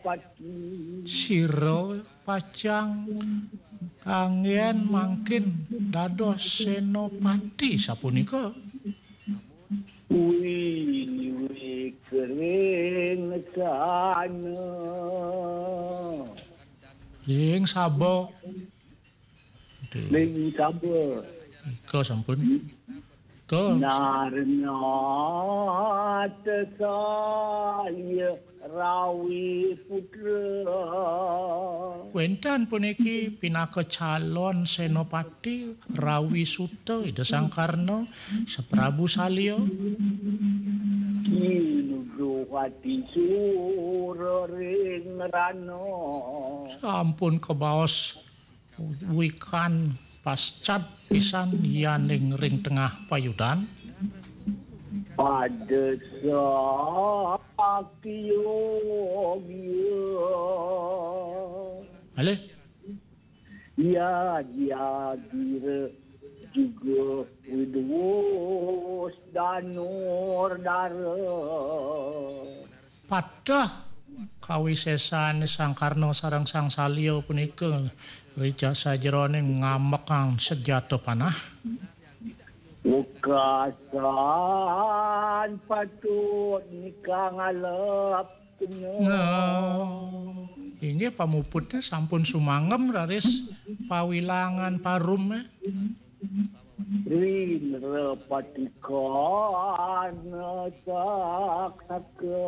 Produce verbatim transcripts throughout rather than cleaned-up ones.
Pati. Sira pacang kanggen mangkin dados senopati sapunika. Kuwi liwih kering sana. Ring saba. Ring saba. Ika sampun. Ika. Narna tesaya rawi putra. Wénten puniki pinaka calon senopati rawi suta Ida Sang Karna, Saprabu Salya. Kinuduhati sura ring rana. Sampun kabaos wikan pascat pisan yaning ring tengah payudan. Pada sakya. Alih. Ya, ya, gira juga widwus danur dara. Pateh kawisésan Sang Karna sareng Sang Salya punika ri ca-, sajeroning ngamekang senjata panah. Wekasan patut nika ngalep kena. Nah, inggih pamuputnya sampun sumangem raris pawilangan parum, eh. Rin repatikan saksaka.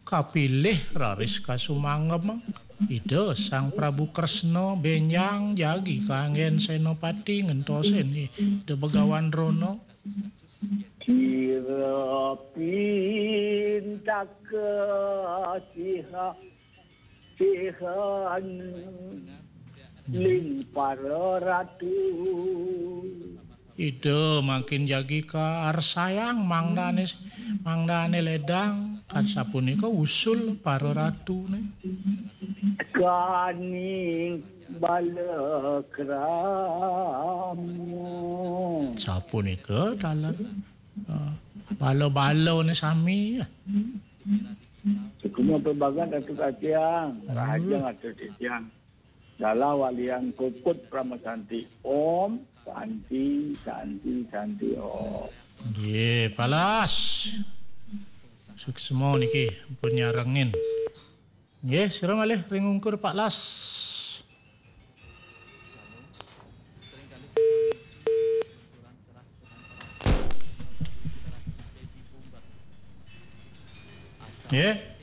Kapilih raris kasumangem Ida Sang Prabu Kresna bénjang jagi kanggén Sénapati ngentosin Ida Begawan Drona. Sira pintaka siha, sihan ling para ratu. Ida mangkin jagi kaarsayang mangdané, mangdané ledang, kan sapunika usul para ratuné. Kaning bala krama. Sapunika dalan, eh, bala-balané sami. Sukma pebagat Ratu Katiang, hmm. Rahajeng Ratu Titiang. Dalah walian puput Parama Santi. Om Santi, Santi, Santi, Om. Nggih, palas. Suksma niki pun nyarengin. Nggih, sira malih ring ungkur Pak Las. Nggih.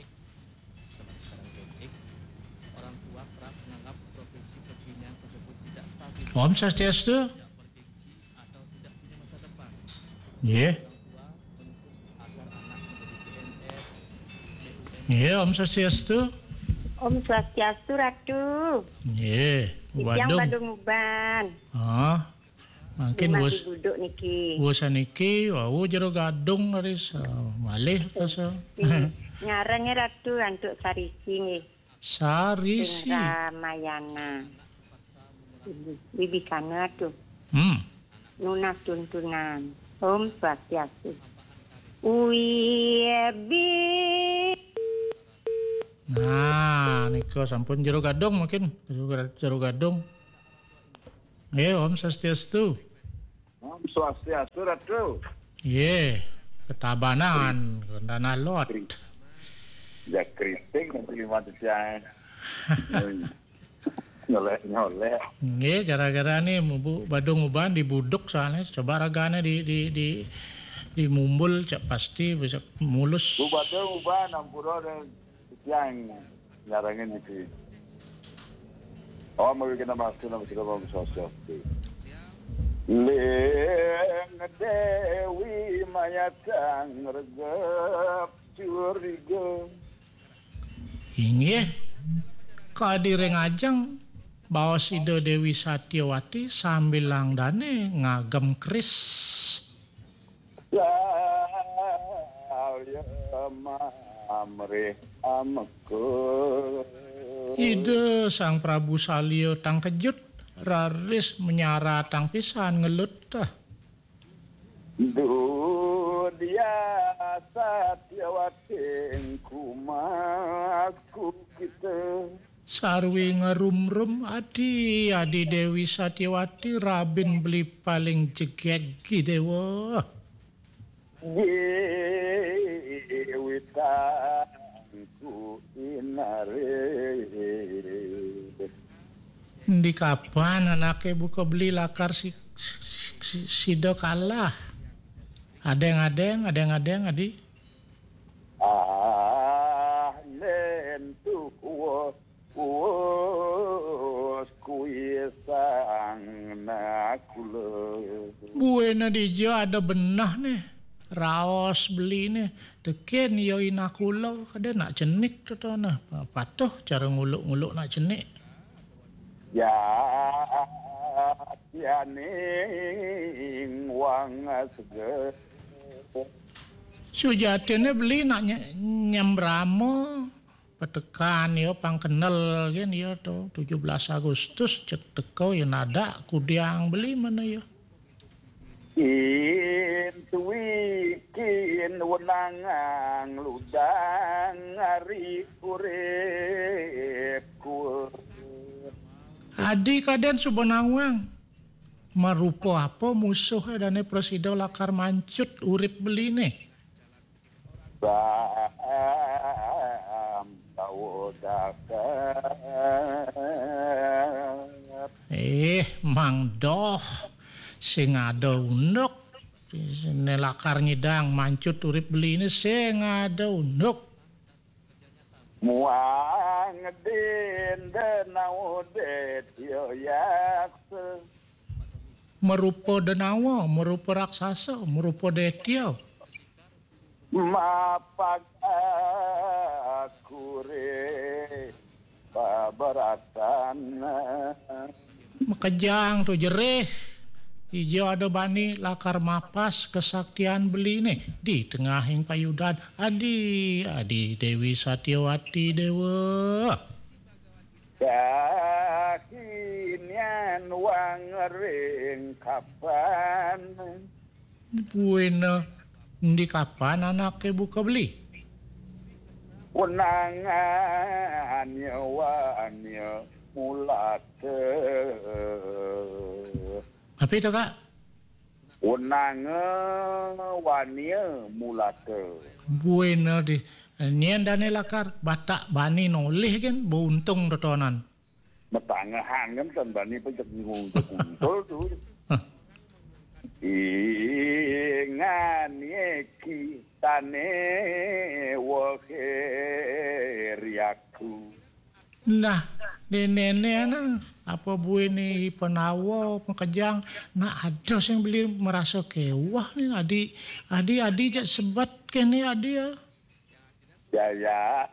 Om Swastiastu. Nggih. Nggih, Om Swastiastu. Om Swastiastu, Ratu. Nggih, Titiang Badung. Badung Uban. Ah, mangkin wus-, buduk niki. Wusan niki, wau Jero Gadung raris, ah, malih rasa. Nggih. Ngarengé Ratu antuk sarisi nggih. Sarisi. Ring Ramayana. Bibikana tuh. Hmm. Nunas tuntunan. Om Swastiastu. Uwi bi. Nah, nika sampun Jero Gadung mungkin. Jero Ga-, Jero Gadung. Nggih, Om Swastiastu. Om Swastiastu, Ratu. Nggih, ketabanan, tanah lot. Ya kriting nanti lima siang. Nyolek-nyolek. Nggih, gara-gara nih Bu Badung Uban dibuduk soalnya. Coba ragane di, di, di, di mumbul, cak pasti bisa mulus. Bu Badung Uban, ampura dan siang nyarengin iki. Oh, mawikena mastu nama sira Om Swastiastu. Ling Dewi mayatang regep curiga. Inggih, kadi ring ajeng baos Ida Dewi Satyawati sambilang dane ngagem keris. Salya mamrih ameka. Ida Sang Prabu Salya tangkejut, raris menyaratang pisan ngelut tah. Duh Dia Satyawati kumasku kita. Sarwi ngerumrum adi, adi Dewi Satyawati, rabin beli paling jegegi dewa. Jiwitangku inare. Di kapan anake buka beli lakar si, si, si, sida kalah? Adeng-adeng, adeng-adeng, adi. Ah, nentu kuwa, kuwa, kuwi sang nakula. Buena dija ada benah ne, raos beli ne, teken ya inakula, kada nak cenik tetona. Patuh cara nguluk-nguluk nak cenik. Ya, tianing wang seger. Sujatine beli nak nye-, nyembrama, petekan ya, pang kenel gen ya to, tujuh belas Agustus cek teko ya nadak kudiang beli mana ya. Intuikin wenangang ludang ari uripku. Adi kaden suba nawang. Marupa apa musuh dane prasida lakar mancut urip beline? Bam tawa dakat. Eh, Mang Doh, sing ada unduk. Ne lakar nyidang mancut urip beline sing ada unduk. Muang denda nawa detya yaksa. Merupa denawa, merupa raksasa, merupa detya. Mapag akure babaratan. Makejang tu jerih. Ija ada bani lakar mapas kesaktian beline di tengahing payudan. Adi, adi Dewi Satyawati Dewa. Kakinian wang ring kapan. Buena di kapan anake buka beli? Wenangan ya wania mulata. Apa itu, Kak? Wenanga wania mulata. Buena di. Nyen dane lakar batak bani nolih gen, beuntung totonan. Matangahan kan tan bani pajak bingung kuntul tu. Hah. Ingan ye ki tane wahe riaku. Nah, di nene na, apa buin ni penawa, pengkejang, nah ada sing beli merasa kewah ni, adi, adi, adi jak sebat kene adi ya. Jaya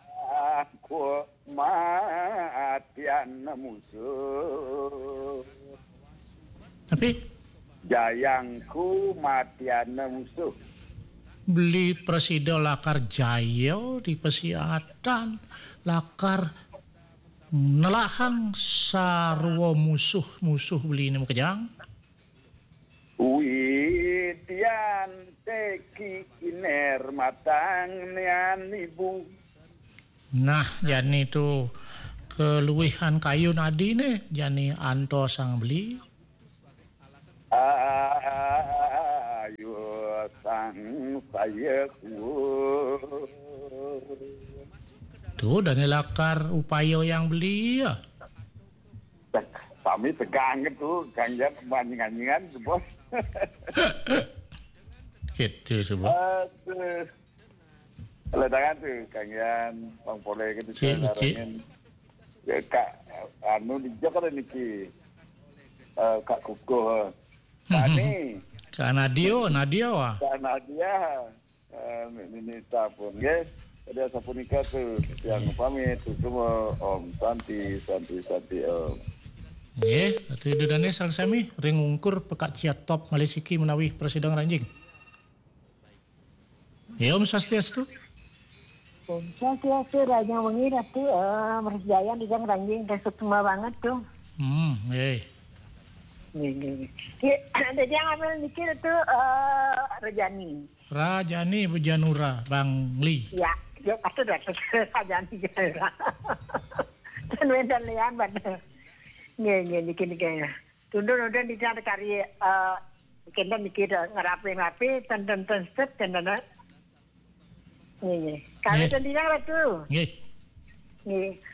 ku matian musuh. Tapi? Jayangku matian musuh. Beli prasida lakar jaya di pasiatan, lakar nelahang sarwa musuh-musuh beli ni makejang. Widian teki iner matang nian ibu. Nah, jani tu keluihan kayun adi ne, jani anto sang beli. Ayu sang saya ku. Tu dane lakar upaya yang beli ya. Sami tegang tu, Kang Jan, anjing-anjingan tu, Bos. Gitu, sebab. Aduh. Ledangan tu, Kang Jan, Bang Pole gitu, cik, cik. Ya, Kak, anu, di Jakarta niki. Eh, Kak Kukuh. Kak Ani. Kak Nadio, Nadia, wah. Kak Nadia. Eh, Nini Tapun, nggih. Jadi, asapunika tu, yang pamit, tu semua, Om Santi, Santi, Santi, Om. Nggih, Ratu Ida Dane sareng sami, ring ungkur pekak ciat top malih siki menawi prasida ngranjing. Ya, Om Swastiastu. Om Swastiastu, rahajeng wengi, Ratu, eh, Mas Jayan, Ida ngranjing, dah sukma banget tu. Hmm, nggih. Nggih, nggih, nggih. Nggih, dadi yang apa niki itu, eh, Rejani. Rajani Bejanura, Bang Li. Ya, ya, pasti dah Rejani Bejanura. Dan wénten liyan, Bang. Nggih, nggih, niki, niki. Tundun-tundun di sana kari, eh, kenten niki dah ngerapi-rapi, ten, ten, ten, step, kenten, eh. Nggih, nggih. Kalau Nggih. Tendingan Ratu. Nggih. Nggih.